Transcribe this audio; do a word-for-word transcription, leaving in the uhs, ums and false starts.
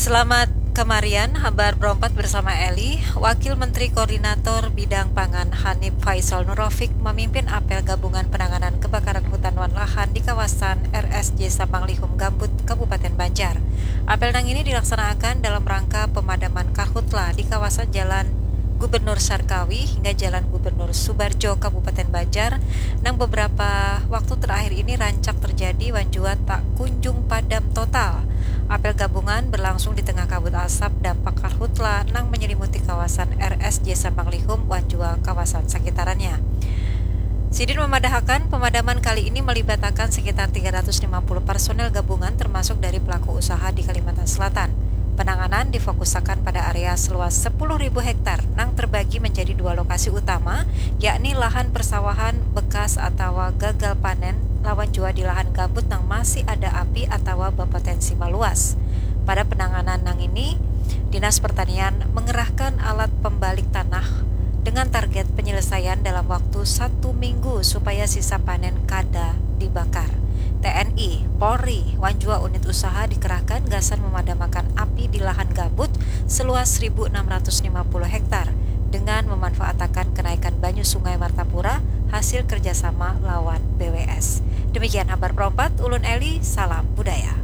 Selamat kemarian, habar berompat bersama Eli. Wakil Menteri Koordinator Bidang Pangan Hanif Faisal Nurofik memimpin apel gabungan penanganan kebakaran hutan wan lahan di kawasan R S J Sampang Lihum Gambut, Kabupaten Banjar. Apel nang ini dilaksanakan dalam rangka pemadaman karhutla di kawasan Jalan Gubernur Sarkawi hingga Jalan Gubernur Subarjo, Kabupaten Banjar, nang beberapa waktu terakhir ini rancak terjadi wan jua tak kunjung padam total. Apel gabungan berlangsung di tengah kabut asap dampak karhutla nang menyelimuti kawasan R S J Sampang Lihum wan jua kawasan sekitarannya. Sidin memadahakan pemadaman kali ini melibatakan sekitar tiga ratus lima puluh personel gabungan termasuk dari pelaku usaha di Kalimantan Selatan. Penanganan difokusakan pada area seluas sepuluh ribu hektar nang terbagi menjadi dua lokasi utama, yakni lahan persawahan bekas atawa gagal panen lawan jua di lahan gambut nang masih ada api atawa berpotensi meluas. Pada penanganan nang ini, Dinas Pertanian mengerahkan alat pembalik tanah dengan target penyelesaian dalam waktu satu minggu supaya sisa panen kada dibakar. T N I, Polri, wan jua unit usaha dikerahkan gasan memadamakan api di lahan gambut seluas seribu enam ratus lima puluh hektar dengan memanfaatakan kenaikan banyu Sungai Martapura hasil kerjasama lawan B W S. Demikian habar perompat, ulun Eli, salam budaya.